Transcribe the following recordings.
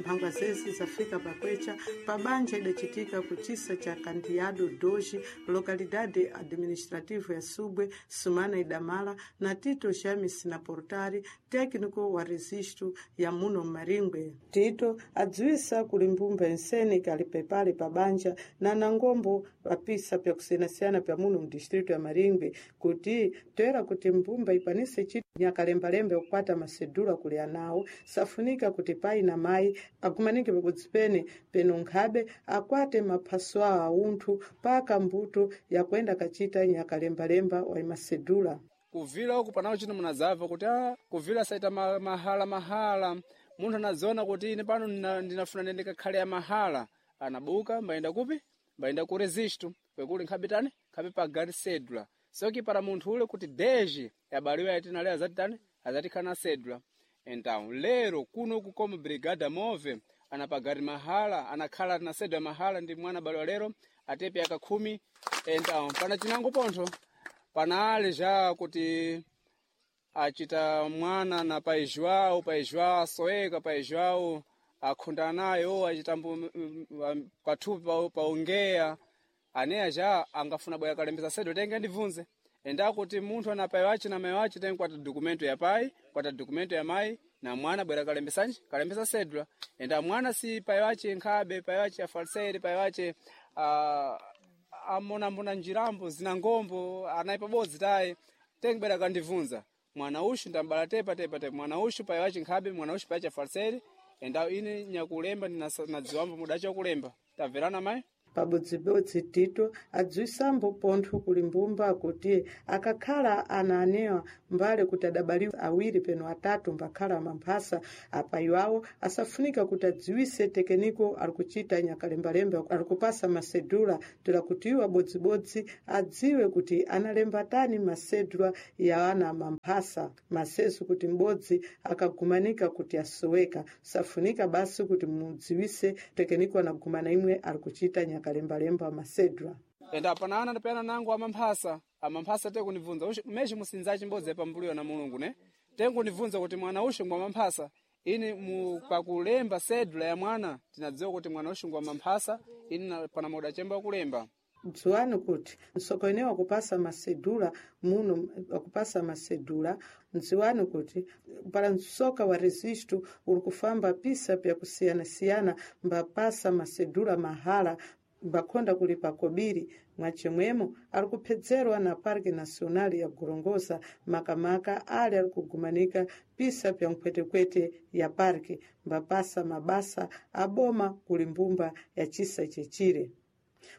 Mphangwa zezi zafika pakwecha pabanja idacitika kuchisa cha Candiado Doji, localidade administrativa ya Subwe, sumana idamala na Tito James na Portari, técnico wa registro ya muno Maringwe. Tito adziwisa kuli mbumba ensene kali pepale pabanja na nangombo vapisa pyakusiyanasiyana pya muno mdistrito ya Maringwe kuti toera kuti mbumba ikwanise chito nyakalembalemba kukwata masedula kuli anawo safunika kuti pai na mayi agumanike pabodzi pene peno nkhabe akwate maphaso awo aunthu paka mbuto yakuenda kachita nyakalembalemba wa masedula. Kuvila uku panawo chino munadzabva kuti a kuvila saita mahala mahala munthu anadziona kuti ine pano ndinafuna ndende kakhale ya mahala anabuka mbayenda kupi mbayenda ku registro kwekuli nkhabe tani nkhabe pagari cedula soki para munthu ule kuti deji yabaliwa yatinale azati tani azatikhala na cedula. Então lero kuno kukoma brigada move anapagari mahala anakhala na cedula mahala ndi mwana baliwa lero atepe aka 10. Então pana chinango pontho panali já kuti achita mwana na pai João, pai João asoeka, pai João akhunda nayo achita pathupi paongeya aneya já angafuna bwera kalembesa sedo tenge ndibvunze enda kuti munthu ana pai wace na mai wace tenge kwata dokumento ya pai kwata dokumento ya mai na mwana bwera kalembesanji kalembesa sedula. Enda mwana si pai wace nkhabe pai wace afalsere pai wace amonambona njirambo zina ngombo anayi pabodzi tayi tenge bwera kandibvunza mwana ushu ndambala tepa tepa tepa mwana ushu pai wace nkhabe mwana ushu pai wace afalsere enda ine nyakulemba ndinadziwambo mudacha kulemba tabverana mai. Pabodzibodzi Tito adziwisambo pontho kuli mbumba kuti akakhala ana anewa mbale kuti adabaliwa awiri peno atatu mbakhala mamphasa apayi awo asafunika kuti adziwise tekeniko ali kuchita nyakalembalemba ali kupasa masedula toera kuti iwo abodzibodzi adziwe kuti analemba tani masedula ya ana mamphasa maseso kuti m'bodzi akagumanika kuti asoweka safunika basi kuti mudziwise tekeniko anagumana imwe ali kuchita nyakalembalemba masedula. Enda pana ana ndapena nangu amamphasa amamphasa tekundibvunza meshe musinzachi mbodzi pambuliyo na Mulungu ne tekundibvunza kuti mwana ushu ngwa mamphasa ini pakulemba sedula ya mwana tinadziwa kuti mwana ushu ngwa mamphasa ini pana muda chemba kulemba. Dziwani kuti msoko ene wakupasa masedula muno wakupasa masedula mdziwani kuti para msoka wa registro uri kufamba pisa pyakusiyanasiyana mbapasa masedula mahala mbakhonda kulipa kobiri mwachimwemo ali kuphedzerwa na Parque Nacional ya Gorongosa makamaka ali ali kugumanika pisa pya nkhwetekwete ya parque mbapasa mabasa aboma kuli mbumba ya chisa chechire.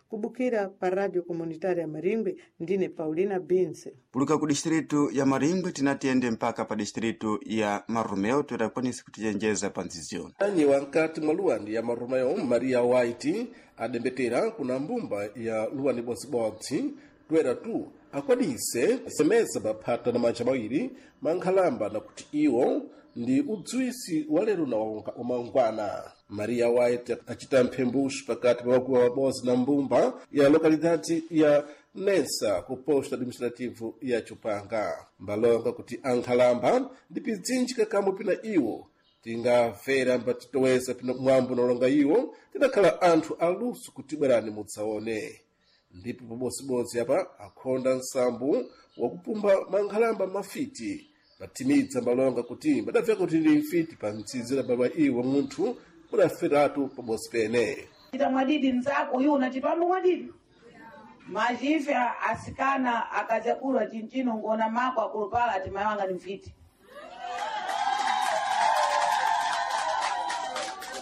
Kubukira pa Radio Comunitária ya Maringwe ndine Paulina Binze. Puluka ku distritu ya Maringwe tinatiyende mpaka pa distritu ya Marumeo totakwanisa kutichenjeza pa nziziona. Anyi wankati mwa luwani ya Marumeo Maria White adembetera kuna mbumba ya luwani bodzibodzi toera tu akwanise semeza maphata na manja mawiri mankhalamba na kuti iwo ndi udziwisi wa lero na wamangwana. Maria White acita mphembuxu pakati pa wakuwa wabodzi na mbumba ya lokalidade ya Nensa ku posto administrativo ya Chupanga. Mbalonga kuti ankhalamba ndi pidzinji kakamwe pina iwo tingamvera mbatitoweza pino mwambo nolonga iwo tidakhala anthu aluso kuti bwerani mudzaone. Ndipo pabodzibodzi apa akhonda nsambu wakupumba mankhalamba mafiti patimidza mbalonga kuti mbadabveka kuti ndi mfiti pa mtsizira baba iwo munthu mudaferatu pabodzi pene. Chita mwadidi mzako uyu unachipambo mwadidi machife asikana akachakula chinchino ngona mako akulupala ati mai wanga ni mfiti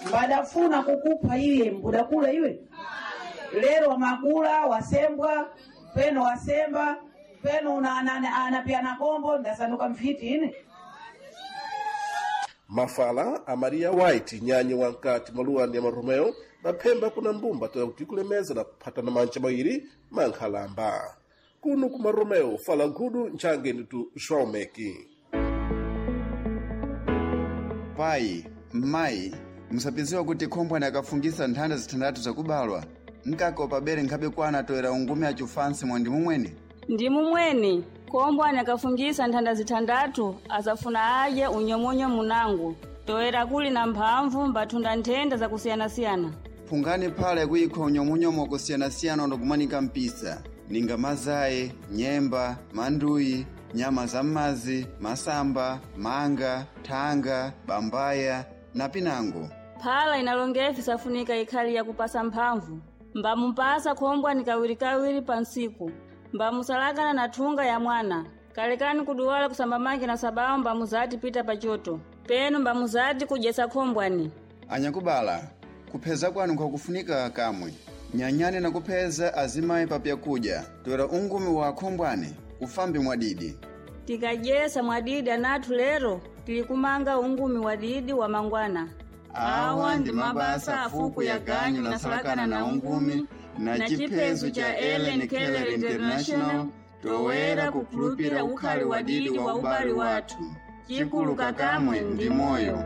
mbadafuna kukupha iye mbudakula iwe lero wamakula wasembwa peno wasemba peno anapiana kombo ndasanduka mfiti ine. Mafala a Maria White nyanyi wankati mwa luwani ya Marumeo maphemba kuna mbumba toya kuti kulemeza na kuphatana manja mawiri mankhalamba. Kuno ku Marumeo fala nkhudu ntchange nditu João Meki. Pai, mayi, musapiziwa kuti khombwani akafungisa nthanda zithandathu zakubalwa mkaka upabere nkhabe kwana toera ungume achufansi mwa ndimu mwene. Ndi mumweni kombwani akafungisa nthanda zithandathu asafuna adye unyomunyo munango. Toera kuli na mphamvu mbathunda nthenda zakusiyanasiyana. Phungani phala yakuyikha unyomunyomo kusiyana-siyana ondokumanika mpisa ninga mazayi, nyemba, manduyi, nyama za m'mazi, masamba, manga, thanga, bambaya na pinango. Phala inalongefi safunika ikhali yakupasa mphamvu. Mbamupasa khombwani kawirikawiri pa ntsiku. Mbamusalakana na thunga ya mwana. Kalekani kuduwala kusamba manji na sabawu mbamuzati pita pachoto. Penu mbamuzati kudyesa khombwani. Anyakubala, kupheza kwanu nkwakufunika kamwe. Nyanyani na kupheza azimayi papyakudya, toera ungumi wa khombwani ufambi mwadidi. Tikadyesa mwadidi anathu lero, tili kumanga ungumi wadidi wa mangwana. Awa ndi mabasa afuku ya ganyu lasalakana na ungumi na chiphezo cha Ellen Keller International toera kukhulupira ukhali wadidi wa ubali wathu. Chikulu kakamwe ndi moyo.